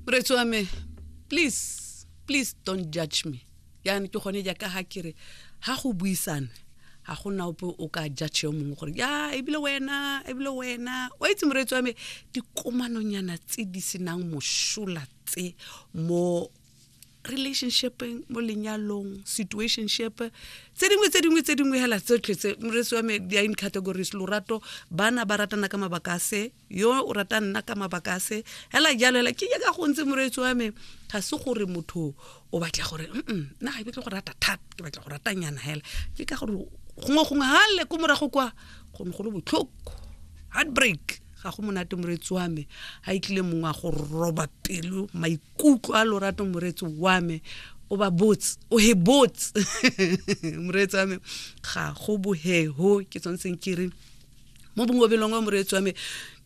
Moreetsi wa me, please, please don't judge me. Jaanong ke gone jaaka ga ke re ga go buisane ga go na ope o ka judge yo mongwe gore ya ebile wena ebile wena wa itse moreetsi wa me dikomanonyana tse di senang mosola tse mo relationshipeng mo lenyalong situationship tse dingwe tse dingwe tse dingwe hela tsotlhe tse moreetsi wa me di in categories lorato bana ba ratana ka mabaka a se yo o rata nna ka mabaka a se hela jalo hela ke jaaka go ntse moreetsi wa me ga se gore motho o batla gore mm nna ga ke batle go rata thata ke batla go ratanyana hela ke ka gore gongwe gongwe gale ko morago kwa go ne go le botlhoko heartbreak ga go monate moreetsi wa me ga e tlile mongwe a go roba pelo maikutlo a lorato moreetsi wa me o ba botse o he botse moreetsi wa me ga go boheho ke tshwanetseng ke re mo bongobelong wa moreetsi wa me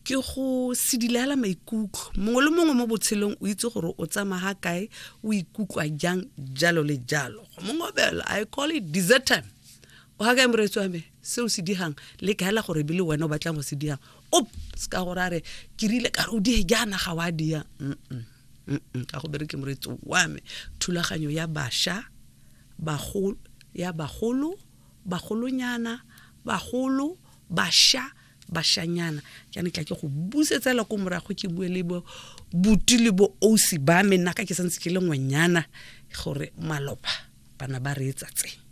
ke go sedilela maikutlo mongwe le mongwe mo botshelong o itse gore o tsamaya ga kae o ikutlwa jang jalo le jalo go mongobelo i call it dessert time o ga kae moreetsi wa me se o se digang le kaela gore ebile wena o batlang go se digang op se ka gore a re ke rile ka re o die jaana ga wa dia ga go bereke moreetsi wa me thulaganyo ya bašwa bagolo ya bagolo bagolonyana bagolo bašwa bashanyana ke ne tla ke go busetsela ko morago ke bue le bo buti le bo ausi ba me nna ka ke santse ke le ngwanyana gore maloba bana ba reetsa tse.